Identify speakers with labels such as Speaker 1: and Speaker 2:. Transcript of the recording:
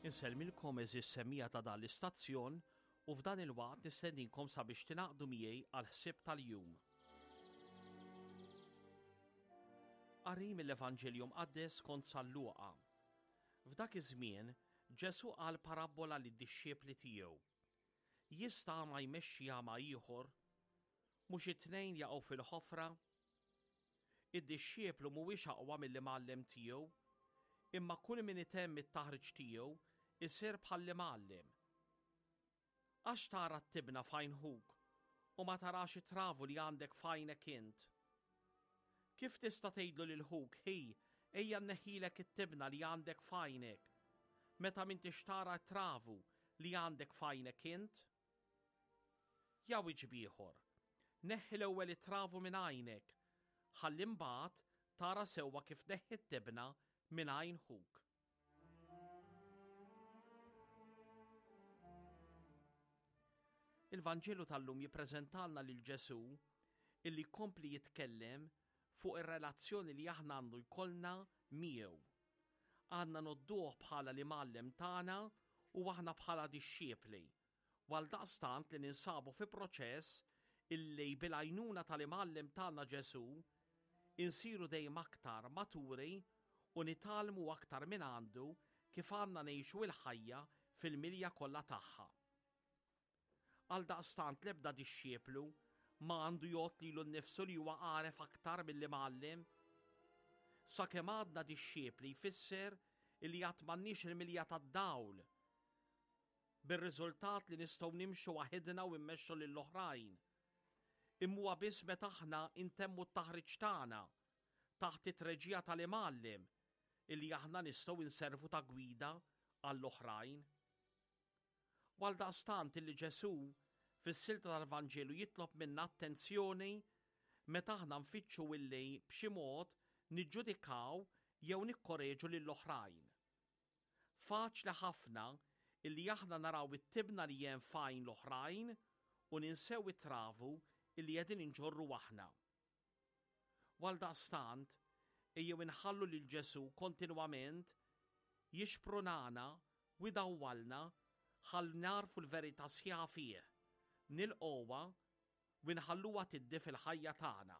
Speaker 1: Insellmilkom għeżież semmiegħa ta' dan l-istazzjon u f'dan il-waqt nistedinkom sabiex tingħaqdu miegħi għall-ħsieb tal-jum. Qari mill-Evanġelju Mqaddes skont San Luqa. F'dak iż-żmien, Ġesù qal parabbola lid-dixxipli tiegħu. Jista' għama jmexxi għama ieħor? Mhux it-tnejn jaqgħu fil-ħofra? Id-dixxiplu mhuwiex aqwa mill-imgħallem tiegħu, imma kull min itemm it-taħriġ tiegħu jsir bħall-imgħallem. Għax tara t-tibna f'għajn ħuk u ma tarax it-travu li għandek f'għajnek int? Kif tista' tgħidlu lil ħuk, 'Ħi, ejja nneħħilek it-tibna li għandek f'għajnek, meta m'intix tara t-travu li għandek f'għajnek int? Jawieġb ieħor, Neħħi l-ewwel it-travu minn għajnek, ħalli mbagħad tara sewwa kif tneħħi t-tibna minn għajn ħuk. Il-Vanġelu tal-lum jippreżentalna lil Ġesù illi jkompli jitkellem fuq ir-relazzjoni li aħna għandu jkollna miegħu. Għandna nodduh bħala l-imgħallem tagħna u aħna bħala dixxiepli u għaldaqstant li ninsabu fi proċess illi bil-għajnuna tal-Imgħallem tagħna Ġesù, insiru dejjem aktar maturi u nitgħallmu aktar mingħandu kif għandna ngħixu l-ħajja fil-milja kollha tagħha. Għaldaqstant l-ebda dixxieplu ma għandu jgħodd lilu nnifsu li huwa għaref aktar mill-Imgħallem. Sakemm għadna dixxiepli jfisser illi għad m'għandniex il-milja tad-dawl, bir-riżultat li nistgħu nimxu waħidna u mmexxu lill-oħrajn. Imma huwa biss meta aħna ntemmu t-taħriġ tagħna taħt it-treġija tal-Imgħallem illi aħna nistgħu nservu ta' gwida għall-oħrajn. U għaldaqstant illi Ġesù fis-silta tal-Vanġelu jitlob minna attenzjoni meta aħna nfittxu illi b'xi mod niġġudikaw jew nikkoreġu lill-oħrajn. Faċli ħafna illi aħna naraw it-tibna li hemm f'għajn l-oħrajn u ninsew it-travu illi qegħdin inġorru aħna. U għaldaqstant, ejjew inħallu lil Ġesù kontinwament jixprunana u jdawwalna ħalli nagħrfu l-verità sħiħa fih, nilqgħuha u nħalluha tiddi fil-ħajja tagħna.